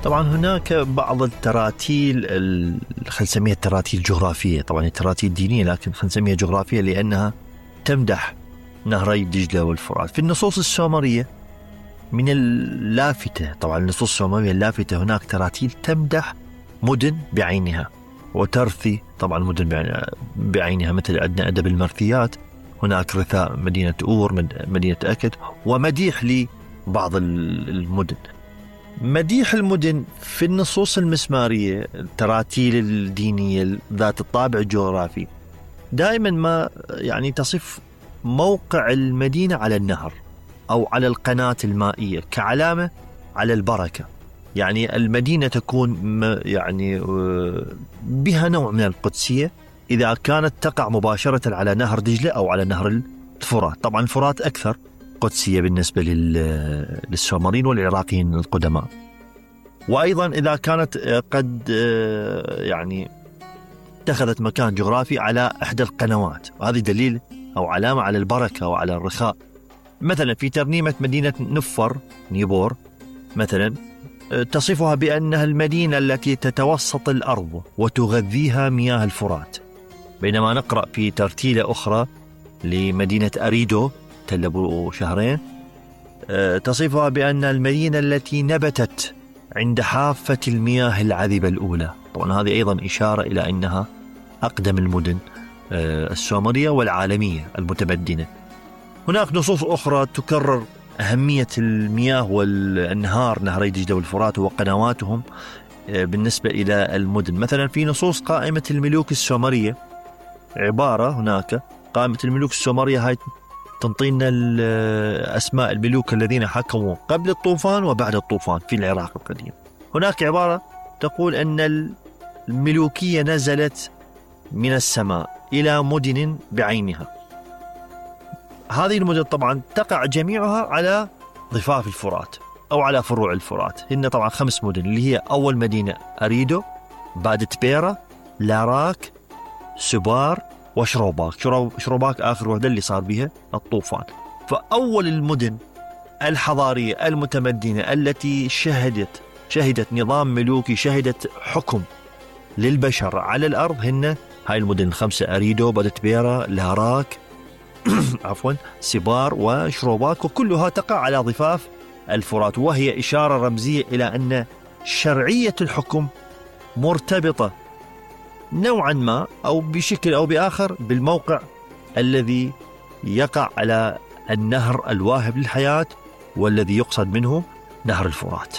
طبعا هناك بعض التراتيل خلينا نسميها التراتيل الجغرافية، طبعا التراتيل الدينية لكن خلينا نسميها جغرافية لأنها تمدح نهري دجلة والفرات. في النصوص السومرية من اللافتة، طبعا النصوص السومرية اللافتة هناك تراتيل تمدح مدن بعينها وترثي طبعا مدن بعينها، مثل عندنا أدب المرثيات، هناك رثاء مدينة أور، مدينة أكد، ومديح لبعض المدن. مديح المدن في النصوص المسمارية التراتيل الدينية ذات الطابع الجغرافي دائما ما يعني تصف موقع المدينة على النهر أو على القناة المائية كعلامة على البركة. يعني المدينة تكون يعني بها نوع من القدسية إذا كانت تقع مباشرة على نهر دجلة أو على نهر الفرات. طبعا الفرات أكثر قدسية بالنسبة للسومريين والعراقيين القدماء. وأيضا إذا كانت قد يعني اتخذت مكان جغرافي على إحدى القنوات، وهذه دليل أو علامة على البركة وعلى الرخاء. مثلا في ترنيمة مدينة نفر نيبور مثلا تصفها بأنها المدينة التي تتوسط الأرض وتغذيها مياه الفرات، بينما نقرأ في ترتيلة أخرى لمدينة أريدو تل أبو شهرين تصفها بأن المدينة التي نبتت عند حافة المياه العذبة الأولى. طبعا هذه أيضا إشارة إلى أنها أقدم المدن السومرية والعالمية المتمدنة. هناك نصوص أخرى تكرر أهمية المياه والأنهار، نهري دجلة والفرات وقنواتهم بالنسبة إلى المدن. مثلا في نصوص قائمة الملوك السومرية عبارة هناك قائمة الملوك السومرية هاي تنطينا أسماء الملوك الذين حكموا قبل الطوفان وبعد الطوفان في العراق القديم. هناك عبارة تقول أن الملوكية نزلت من السماء إلى مدن بعينها. هذه المدن طبعا تقع جميعها على ضفاف الفرات أو على فروع الفرات. هن طبعا 5 مدن اللي هي أول مدينة أريدو، بعد تبيرة، لاراك، سبار وشروباك. شروباك آخر وحدة اللي صار بها الطوفان. فأول المدن الحضارية المتمدنة التي شهدت نظام ملوكي، شهدت حكم للبشر على الأرض، هن هاي المدن 5: أريدو، بعد تبيرة، لاراك عفوا سبار وشروباك، وكلها تقع على ضفاف الفرات، وهي إشارة رمزية إلى أن شرعية الحكم مرتبطة نوعا ما أو بشكل أو بآخر بالموقع الذي يقع على النهر الواهب للحياة والذي يقصد منه نهر الفرات.